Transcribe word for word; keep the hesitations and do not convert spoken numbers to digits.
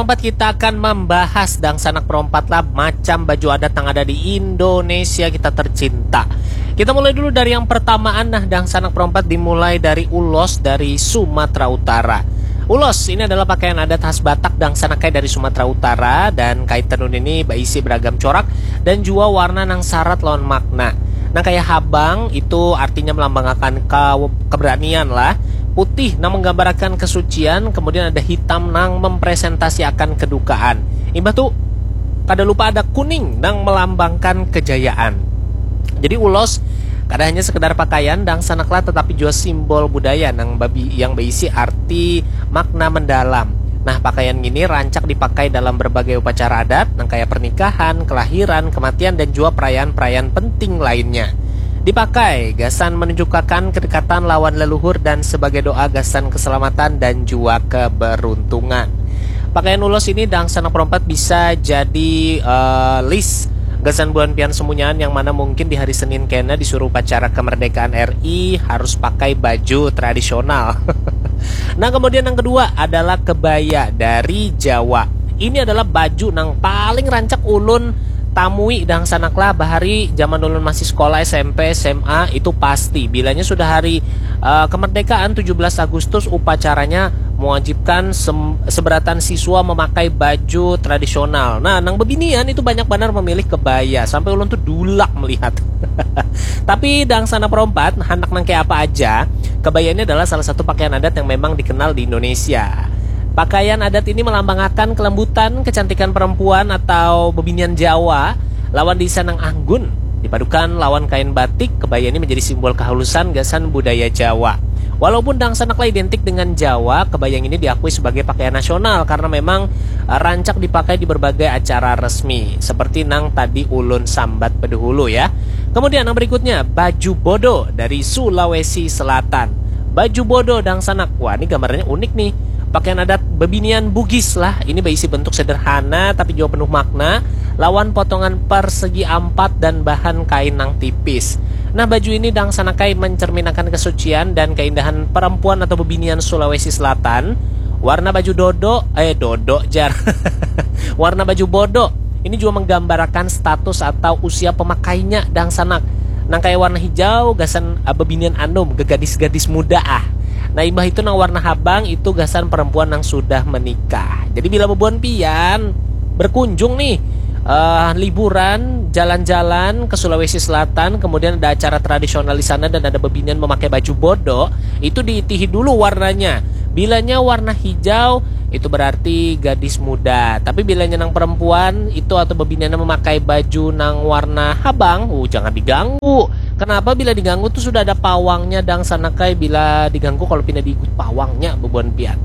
Perompat kita akan membahas dangsanak perompat lah macam baju adat yang ada di Indonesia kita tercinta. Kita mulai dulu dari yang pertamaan nah dangsanak perompat dimulai dari ulos dari Sumatera Utara. Ulos ini adalah pakaian adat khas Batak dangsanak kai dari Sumatera Utara dan kait tenun ini berisi beragam corak dan juga warna nang syarat lawan makna. Nang kayak habang itu artinya melambangkan ke keberanian lah. Putih nang menggambarkan kesucian, kemudian ada hitam nang mempresentasiakan kedukaan. Imbah tu kada lupa ada kuning nang melambangkan kejayaan. Jadi ulos kada hanya sekedar pakaian dangsanaklah tetapi juga simbol budaya nang babi yang berisi arti makna mendalam. Nah, pakaian ini rancak dipakai dalam berbagai upacara adat, nang kayak pernikahan, kelahiran, kematian, dan juga perayaan-perayaan penting lainnya. Dipakai gasan menunjukkan kedekatan lawan leluhur dan sebagai doa gasan keselamatan dan juga keberuntungan. Pakaian ulos ini dangsanak perompat bisa jadi uh, list gasan buhan pian semunyaan yang mana mungkin di hari Senin kena disuruh upacara kemerdekaan R I harus pakai baju tradisional. Nah, kemudian yang kedua adalah kebaya dari Jawa. Ini adalah baju nang paling rancak ulun tamui dangsanak lah bahari zaman ulun masih sekolah S M P, S M A itu pasti bilanya sudah hari uh, kemerdekaan tujuh belas Agustus upacaranya mewajibkan seberatan siswa memakai baju tradisional. Nah, nang bebinian itu banyak benar memilih kebaya sampai ulun tuh dulak melihat. Tapi dangsanak perompat, handak nang kayak apa aja, kebaya ini adalah salah satu pakaian adat yang memang dikenal di Indonesia. Pakaian adat ini melambangkan kelembutan, kecantikan perempuan atau bebinian Jawa lawan desa nang anggun. Dipadukan lawan kain batik, kebaya ini menjadi simbol kehalusan gasan budaya Jawa. Walaupun dangsanaklah identik dengan Jawa, kebaya ini diakui sebagai pakaian nasional karena memang eh, rancak dipakai di berbagai acara resmi, seperti nang tadi ulun sambat bedahulu ya. Kemudian yang berikutnya, baju bodo dari Sulawesi Selatan. Baju bodo dangsanak. Wah, ini gambarnya unik nih. Pakaian adat bebinian Bugis lah. Ini berisi bentuk sederhana tapi juga penuh makna. Lawan potongan persegi ampat dan bahan kain nang tipis. Nah, baju ini dangsanakai mencerminakan kesucian dan keindahan perempuan atau bebinian Sulawesi Selatan. Warna baju dodo, eh dodo jar. Warna baju bodo ini juga menggambarkan status atau usia pemakainya dangsanak. Nang kayak warna hijau gasan uh, bebinian anum, gegadis-gadis muda ah. Nah, imbah itu nang warna habang itu gasan perempuan yang sudah menikah. Jadi bila bebuan pian berkunjung nih uh, liburan jalan-jalan ke Sulawesi Selatan, kemudian ada acara tradisional di sana dan ada bebinian memakai baju bodo, itu diitihi dulu warnanya. Bilanya warna hijau, itu berarti gadis muda. Tapi bilanya nang perempuan itu atau bebiniannya memakai baju nang warna habang, uh, jangan diganggu. Kenapa bila diganggu tuh sudah ada pawangnya dang sanakai bila diganggu kalau pindah diikut pawangnya bebuan pian.